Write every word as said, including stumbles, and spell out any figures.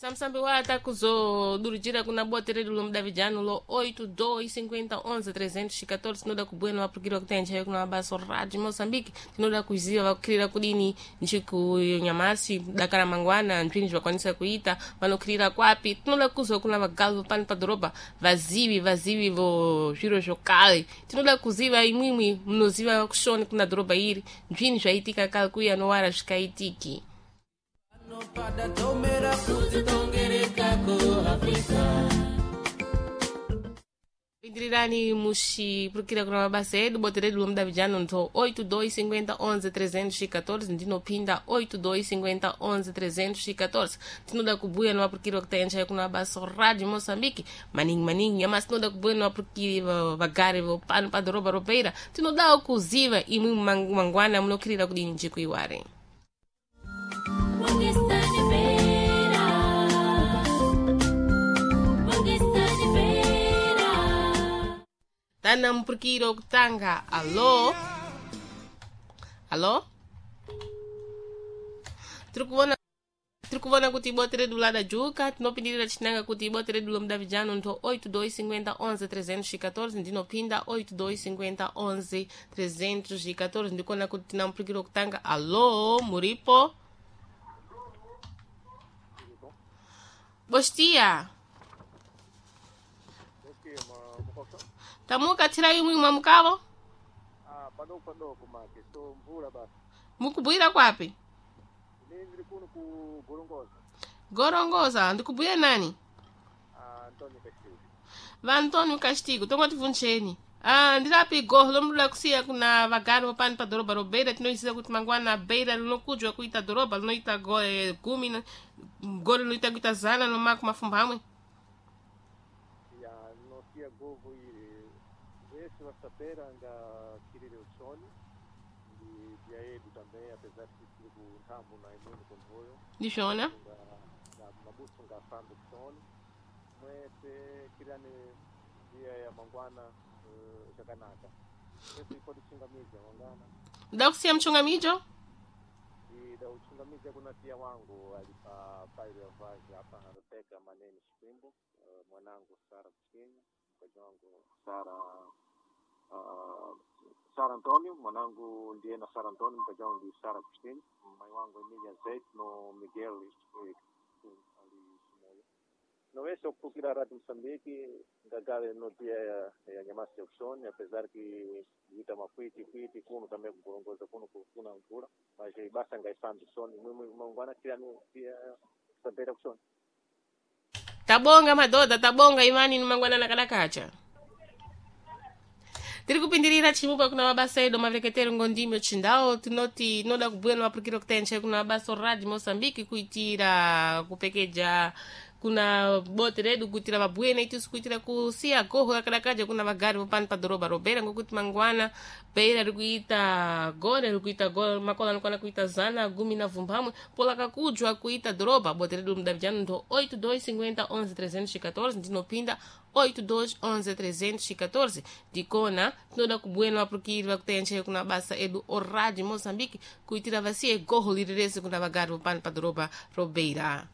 Samsambi wa kuzodurujira kuna bote redu lomudavidzano lo oito dois cinquenta onze trezentos e catorze. Tinoda kubuya novapurukira kutenja kuna mabaso Radio Moçambique. Tinoda kuziva vakukhirira kudini njiku nyamasi dakara mangwana nzvini zvakwanisa kuita vanokhirira kwapi. Tinoda kuzwa kuna vagalo pano padhorobha vazivi vazivi vo zviro zvokale. Tinoda kuziva imwimwi munoziva kushoni kuna dhorobha iri nzvini zvaitika kale kuya nowara zvikaitiki. Pindirirani muchipurukira kuna mabasa edu bote redu lomudavidzano ntho oito dois cinquenta onze trezentos e catorze. Ndinopinda oito dois cinquenta onze trezentos e catorze. Tinoda kubuya novapurukiri vakutaenja kuna mabasa Radio Moçambique maningi maningi nyamasi. Tinoda kubuya novapurukiri vagari vopano padhorobha robeira. Tinodawo kuziva imwi mangwana munokhirira kudini njiku iwari. Tana mpurukiro kutanga. Alô, alô, tiri kuvona tiri kuvona kuti bote redu lada juka. Tinopindirira chinanga kuti bote redu lomudavidzano ntho oito dois cinquenta onze trezentos e catorze. Ndinopinda oito dois cinquenta onze trezentos e catorze. Ndikuona kuti tina mpurukiro kutanga. Alô, muripo? Bostia, tamuka thira imwe mwamukavo. Ah, padoko padoko make so mvula basi. Mukubwira kwapi? Ini ndiri kuno ku Gorongosa. Gorongosa, ndikubwira nani? Ah, Antonio Castilho. Va Antonio Castigo, tongotivunjeni. Ah, ndirapi goho lomuda kusiya kuna vagari vopano pa dhorobha robeira. Tinoziva kuti mangwana beira rinokujwa kuita dhorobha rinoita go- eh, gumi na- gore rinoita kuita zana nomako mafumbamwe. Ya nosia govo iri vese vasapera nga kirire uchoni ndi dia yedu também, apesar de tiri ku nthambo na imweni konthoyo ndizvona nga nga mabuso ngafambe kuchoni mwese kirani dia ya mangwana eh, chakanaka ese ikodi chingamiza mangwana. Muda kusiya muchungamijo. Ida uchingamiza kuna tia wangu alipa pairo ya vazi hapa Rebeka Maneni Shikwimbo, eh, mwanangu Sara Kuchinya, mkaji wangu Sara uh, Sara Antonio, mwanangu ndiye na Sara Antonio, mkaji wangu ndi Sara Kuchinya, mai wangu Emilia Zet no Miguel eh, ali Chimoio. Não é só porque a Rádio Moçambique ngagale no dia ya, ya nyamasi ya ushoni, apesar que ita makwiti kwiti kuno também kugorongoza kuno kuna mvula, mas eh, basta ngaifambi ushoni mwimwe mangwana kirani pia sabera kushoni. Tabonga madhodha, tabonga imani nimangwana kadakacha. Tiri kupindirira chimupa kuna mabasa edu mavereketero ngondimi chindao. Tinoti tinoda kubhuya nemapurukiro kutenche kuna mabasa Radio Moçambique kuitira kupekeja kuna bote redu kuitira vabhuye neitusu kuitira kusiya goho rakadakaja kuna vagari vopano padhorobha robeira, ngokuti mangwana beira rikuita gore rikuita gore makola anokwana kuita zana gumi na vumbamwe pola kakujwa kuita dhorobha. Bote redu mudavidzano ndo oito dois cinquenta onze trezentos e catorze. Ndinopinda oito dois onze trezentos e catorze. Ndikona tinoda kubhuya nevapurukiri vakutenche kuna basa edu o Radio Moçambique kuitira vasiye goho liri rese kuna vagari vopano padhorobha robeira.